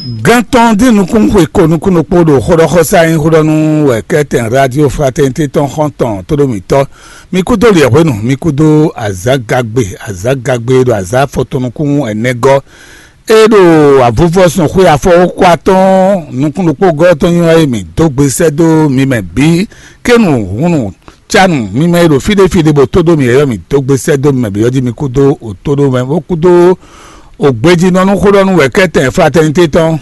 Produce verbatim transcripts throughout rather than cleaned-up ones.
Gán tɔn dín nukún xwe ko nukún ɖokpó ɖo xóɖɔxɔsá nyí xóɖɔnú wɛ kɛ́tɛn Radio Fraternité tɔn xɔ́ntɔn tóɖómítɔ́. Mi kúdó liɛ̌hwenu, mi kúdó azǎgagbe, azǎgagbe ɖo azǎ afɔtɔn nukún ɛnɛ gɔ́. É ɖo avuvɔsɔn xwe afɔwókwa tɔn nukún ɖokpó gɔ́ tɔn nyi wɛ mǐ dó gbe sɛ́ dó mi mɛ bǐ. Kénu húnnu cánu mi mɛ e ɖo fí ɖé fí ɖé bó tó ɖó mì yɔ́yɔ́ mǐ dó gbe sɛ́ dó mi mɛ bǐ ɔ́ jí mi kúdó òtóɖó mɛ bó kúdó ògbéjínɔ́nú xó ɖɔ nú wɛ̌kɛ́tɛn Fraternité tɔn.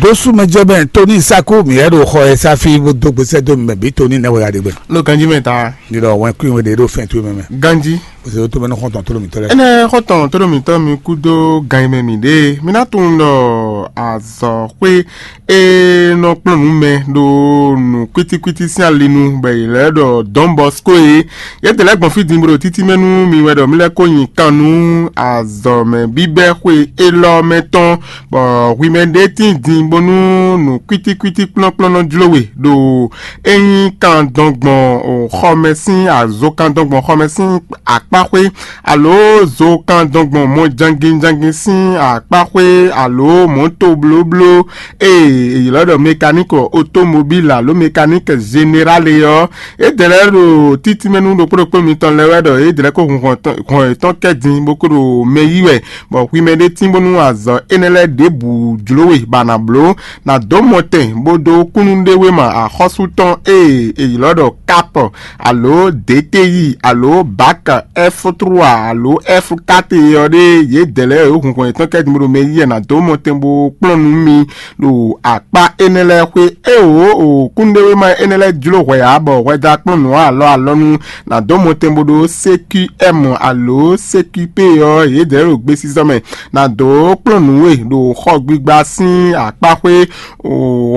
Dósú mɛ jɛ mɛ Tony Saku mǐ yɛ ɖo xɔ ɛ sáfí bó dó gbe sɛ́ dó mi mɛ bǐ Tony nɛ́ wɛ ya ɖe gbɛ. Ló ganjí mɛ ta. Ní ɖɔ wɛn kúnwe ɖe ɖo fɛn towe mɛ mɛ. Ganjí. Parce que ó tó mɛ ní xɔ́ntɔn tó ɖo mǐtɔn lɛ́ɛ. Énɛ́ xɔ́ntɔn tó ɖo mǐtɔn mi kú dó gan e mɛ mǐ ɖe. Mi ná tunwun ɖɔ azɔ̌xwé e nɔ kplɔ́n nǔ mɛ ɖo nǔ kwítíkwítí sín ali nu bɔ è lɛ́ ɖɔ Don Bosco é. Yědɛɛ lɛ́ɛ gbɔn fí din bó ɖo títí mɛ nú mi wɛ ɖɔ mi lɛ́ kó nyi kan nú azɔ̌mɛ bíbɛ́ xwe élɔ́ mɛ tɔn, bɔ hwi mɛ ɖé tíin din bónú nǔ kwítíkwítí kplɔ́nkplɔ́n nɔ jló we ɖo é nyí kan dɔn gbɔn xɔmɛ sín azo kan dɔn gbɔn xɔmɛ sín akpáxwé, alo zo kan dɔn gbɔn mɔ jangin jangin sín akpáxwé, alo mɔ̌to blóbló e è ylɔ́ ɖɔ mekaník otomobíl alo mekaník zenerál é ɔ́, é dɛlɛ́ ɖo títí mɛ nú ɖokpó ɖokpó mitɔn lɛ́ɛ wɛ ɖɔ é dɛlɛ́ kó hun hɔn yětɔn kɛ din bó kó ɖo mɛ yí wɛ, bɔ hwi mɛ ɖé tín bónú azɔ̌ énɛ́ lɛ́ɛ ɖěbǔ jló we ba nǎ bló, nǎ dó mɔtɛn bó dó kúnnuɖewéma axɔ́sú tɔn e è ylɔ́ ɖɔ káp, alo D T I, alo bak F trois, alo F quatre ɔ́ ɖe, yědɛɛ lɛ́ɛ e hun hɔn yětɔn kɛ din bó ɖo mɛ yí wɛ nǎ dó mɔtɛn bó kplɔ́n nú mi ɖo akpá énɛ́ lɛ́ɛ xwé. Éeǒ, kúnnuɖewéma énɛ́ lɛ́ɛ jló hwɛ ǎ, bɔ hwɛjá kplɔ́n nǔ alɔ alɔnu ná dó mɔtɛn bó ɖó C Q M alo C Q P ɔ́, yědɛɛ ɖo gbesisɔ mɛ ná dó kplɔ́n nǔ we ɖo xɔ gbigba sín akpáxwé,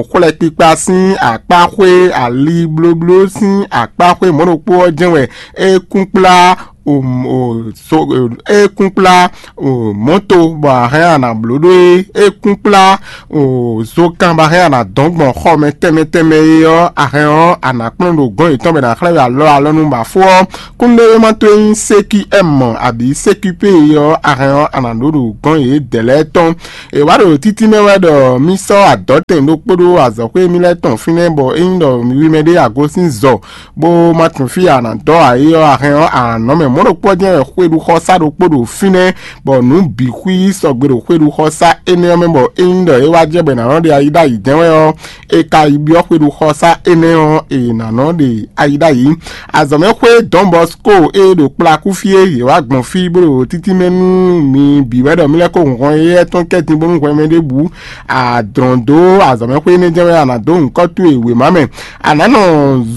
xwlɛkpikpa sín akpáxwé, ali blóbló sín akpáxwé mɔ̌ ɖokpó ɔ́ jɛ́n wɛ é kún kplá o, o, so, o, é kún kplá o, mɔ̌to bɔ a hɛn a nǎ bló ɖó é. É kún kplá o, zokan bɔ a hɛn a nǎ dɔn gbɔn xɔ mɛ tɛnmɛ tɛnmɛ é ɔ́, a hɛn ɔ́, a nǎ kplɔ́n ɖo gɔ̌n yětɔn bɔ è nǎ xlɛ́ we alɔ alɔ nú bɔ afó ɔ́. Kúnnuɖewéma towe nyí C Q M abǐ C Q P ɔ́, a hɛn ɔ́, a nǎ ɖó ɖo gɔ̌n yědɛɛ lɛ́ɛ tɔn. È wǎ ɖo títí mɛ wɛ ɖɔ mì sɔ́ adɔ̌tɛn ɖokpó ɖó azɔ̌xwé mì lɛ́ɛ tɔn fínɛ́, bɔ ényí ɖɔ mi wi mɛ ɖé agosín zɔ bó ma tunwun fí a nǎ dɔ́ ǎ é ɔ́, a hɛn ɔ́, a nǎ nɔ mɛ mɔ̌ ɖokpó ɔ́ jɛ́n wɛ xwéɖuxɔsá ɖokpó ɖo fínɛ́, bɔ nǔ bǐ xwí sɔgbe ɖo xwéɖuxɔsá énɛ́ ɔ́ mɛ, bɔ ényí ɖɔ é wá jɛ bɔ è nǎ nɔ ɖe ayi ɖ'ayǐ jɛ́n wɛ ɔ́, è ka yi byɔ́ xwéɖuxɔsá énɛ́ ɔ́, è nǎ nɔ ɖe ayi ɖ'ayǐ. Azɔ̌mɛxwé Don Bosco e ɖo kplakú fí é, yě wá gbɔn fí bó ɖo títí mɛ nú mi bǐ wɛ ɖɔ mì lɛ́ kó hun hɔn éyɛ́ tɔn kɛ́tin bónú hwɛ mɛ ɖěbǔ a dlɔ̌n dó azɔ̌mɛxwé énɛ́ jɛ́n wɛ a nǎ dó nyǐkɔ towe wěma mɛ. A nǎ nɔ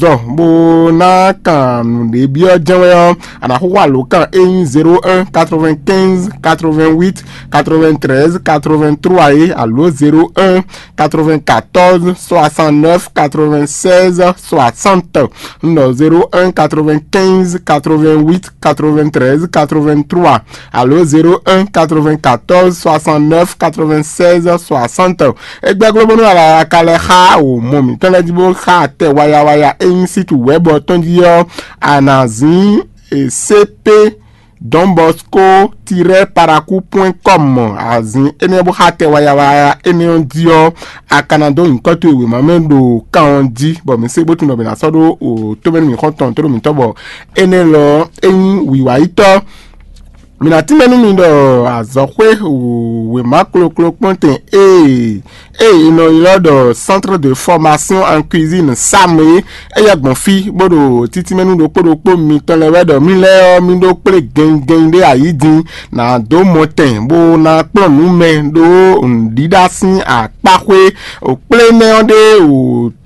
zɔ bó ná kan nǔɖé byɔ́ jɛ́n wɛ ɔ́, a nǎ xóxó alǒkan e nyí zéro un quatre-vingt-quinze quatre-vingt-huit quatre-vingt-treize quatre-vingt-trois é, alo zéro un quatre-vingt-quatorze soixante-neuf quatre-vingt-seize soixante. Un ɖɔ zéro un quatre-vingt-quinze quatre-vingt-huit quatre-vingt-treize quatre-vingt-trois, alo zéro un quatre-vingt-quatorze soixante-neuf quatre-vingt-seize soixante. Egbɛ́ gló bónú alaka lɛ́ɛ xá wǒ mɔ mǐtɔn lɛ́ɛ jí bó xá atɛ wayawaya e nyí sítu wɛ̌bɔ tɔn jí ɔ́, a nǎ zín C P Don Bosco tirɛ paraku point com azin énɛ́ bó xá tɛ wayawaya énɛ́ ɔ́ jí ɔ́, a ka ná dó nyǐkɔ towe wěma mɛ ɖo kan ɔ́ jí, bɔ mǐ se bó tunwun ɖɔ mǐ ná sɔ́ ɖó o tómɛnú mǐxɔ́ntɔn tó ɖo mǐtɔn, bɔ énɛ́ lɔ é nyí wǐwáyítɔ́. Mǐ ná tínmɛ nú mi ɖɔ azɔ̌xwé wěma kloklo kpɔ́ntɛn ee ée è nɔ ylɔ́ ɖɔ Centre de Formation en Cuisine Sam é, é yɛ gbɔn fí bó ɖo títí mɛ nú ɖokpó ɖokpó mitɔn lɛ́ɛ wɛ ɖɔ mì lɛ́ɛ ɔ́, mì ɖó kplé gɛnnyigɛnnyi ɖé ayǐ din, nǎ dó mɔtɛn bó ná kplɔ́n nǔ mɛ ɖó nǔɖiɖa sín akpáxwé. Kplé énɛ́ ɔ́ ɖé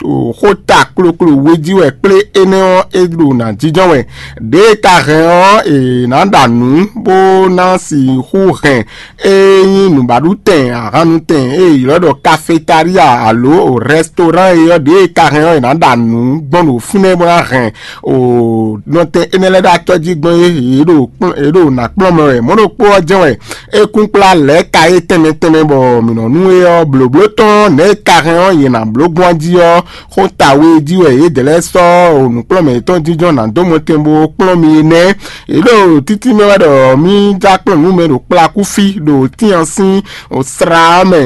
o xóta kloklo we jí wɛ kplé énɛ́ ɔ́ é ɖo nǎ jínjɔ́n wɛ. Ɖěe ka hɛn ɔ́, è nǎ ɖa nǔ bó ná sixú hɛn e nyí nǔbaɖutɛn, ahannutɛn e è ylɔ́ ɖɔ kafetália alo rɛstorán é ɔ́, ɖěe ka hɛn ɔ́, è nǎ ɖa nǔ gbɔn ɖo fínɛ́ bó ná hɛn o nɔtɛn énɛ́ lɛ́ɛ ɖo acɔ́ jí gbɔn é yě ɖo kplɔ́n- yě ɖo nǎ kplɔ́n mɛ wɛ. Mɔ̌ ɖokpó ɔ́ jɛ́n wɛ é kún kplá lɛ̌ ka é tɛnmɛ tɛnmɛ bɔ mǐ nɔ nú é ɔ́, blǒbló tɔn nɛ̌ é ka hɛn ɔ́, yě ná bló gbɔn jí ɔ́, xó ta we jí wɛ yědɛɛ lɛ́ɛ sɔ́ o nǔkplɔ́nmɛ yětɔn jínjɔ́n ná dó mɔtɛn bó kplɔ́n mi é nɛ́. Yě ɖo títí mɛ wɛ ɖɔ mì Ní já kplɔ́n nǔ mɛ ɖo kplakúfí ɖo tían sín sra mɛ.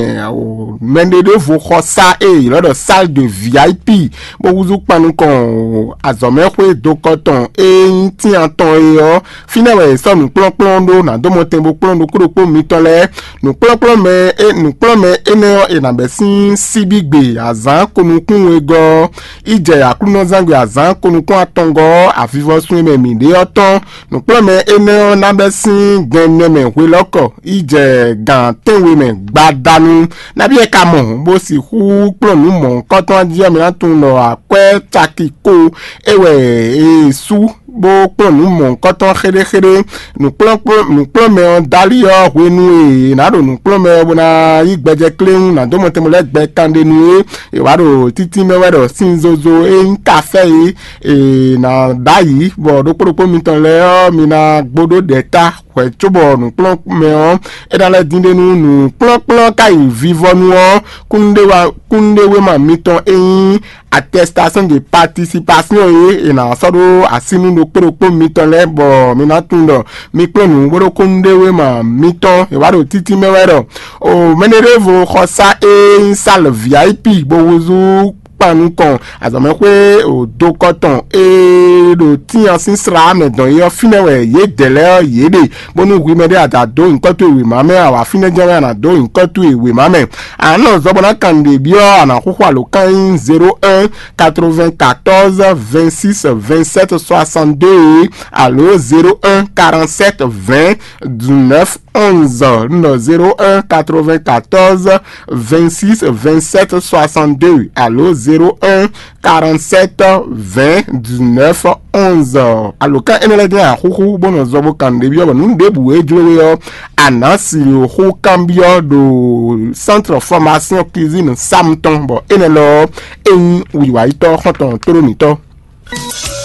Mɛɖeɖevo xɔ sá e ylɔ́ ɖɔ salle de V I P, bó húzú kpan nukɔn azɔ̌mɛxwé dokɔ tɔn e nyí tían tɔn é ɔ́. Fínɛ́ wɛ è sɔ́ nǔkplɔ́nkplɔ́n ɖó ná dó mɔtɛn bó kplɔ́n ɖokpó ɖokpó mitɔn lɛ́ɛ. Nǔkplɔ́nkplɔ́n mɛ é nǔkplɔ́n mɛ énɛ́ ɔ́, è nǎ bɛ́ sín síbígbe azǎn konukún wegɔ́ ɔ́, yi jɛ Aklúnɔzángbe azǎn konukún atɔngɔ́ ɔ́, avivɔsun e mɛ mǐ ɖe ɔ́ tɔn. Nǔkplɔ́nmɛ énɛ́ ɔ́ ná bɛ́ sín gɛnnɛ mɛ hwelɔ́kɔ yi jɛ gǎn tɛ́nwe mɛ gbadanu. Nabí wɛ ka mɔ bó sixú kplɔ́n nǔ mɔ̌hunkɔtɔn jí ɔ́, mi ná tunwun ɖɔ akwɛ́ caki ko é wɛ è sú bó kplɔ́n nǔ mɔ̌hunkɔtɔn xéɖéxéɖé. Nǔkplɔ́nmɛ ɔ́ Dali ɔ́, hwenu e è nǎ ɖo nǔkplɔ́nmɛ ɔ́ bó ná yí gbɛjɛ kléwún ná dó mɔtɛn bó lɛ́ gbɛ kanɖe nú é. È wǎ ɖo títí mɛ wɛ ɖɔ sín zozo e nyí kafɛ́ é è nǎ ɖ'ayǐ, bɔ ɖokpó ɖokpó mitɔn lɛ́ɛ ɔ́, mi ná gbóɖó ɖɛ ta hwɛ̌ cóbɔ nǔkplɔ́nmɛ ɔ́ é ná lɛ́ dín ɖe nú nǔkplɔ́nkplɔ́n ka yi vivɔnu ɔ́, kúnnuɖewéma mitɔn e nyí attestation de participation é è nǎ sɔ́ ɖó así nú ɖokpó ɖokpó mitɔn lɛ́ɛ, bɔ mi ná tunwun ɖɔ mi kplɔ́n nǔ bó ɖó kúnnuɖewéma mitɔn. È wǎ ɖo títí mɛ wɛ ɖɔ o mɛɖeɖevo xɔsá e nyí sál V I P bó húzú kpan nukɔn azɔ̌mɛxwé dokɔ tɔn e ɖo tían sín sra mɛ dɔn é ɔ́, fínɛ́ wɛ yědɛɛ lɛ́ɛ ɔ́ yě ɖe, bónú hwi mɛɖé a dǎ dó nyǐkɔ towe wěma mɛ, a wǎ fínɛ́ jɛ́n wɛ a nǎ dó nyǐkɔ towe wěma mɛ. A nǎ nɔ zɔ bó ná kan nǔɖé byɔ́, a nǎ xúxú alǒkan nyí zéro un quatre-vingt-quatorze vingt-six vingt-sept soixante-deux alo zéro un quarante-sept vingt dix-neuf onze. Nɔ zéro un quatre-vingt-quatorze vingt-six vingt-sept soixante-deux alo zéro un quarante-sept vingt dix-neuf onze. Alǒkan énɛ́ lɛ́ɛ jɛ́n axúxú bó nɔ zɔ bó kan nǔɖé byɔ́ bɔ nǔ ɖěbǔ e jló we ɔ́, a nǎ si xú kanbyɔ́ ɖo Centre Formation Cuisine Sam tɔn, bɔ énɛ́ lɔ ɔ́, é nyí wiwayítɔ́ xɔ́ntɔn tlólómítɔ́.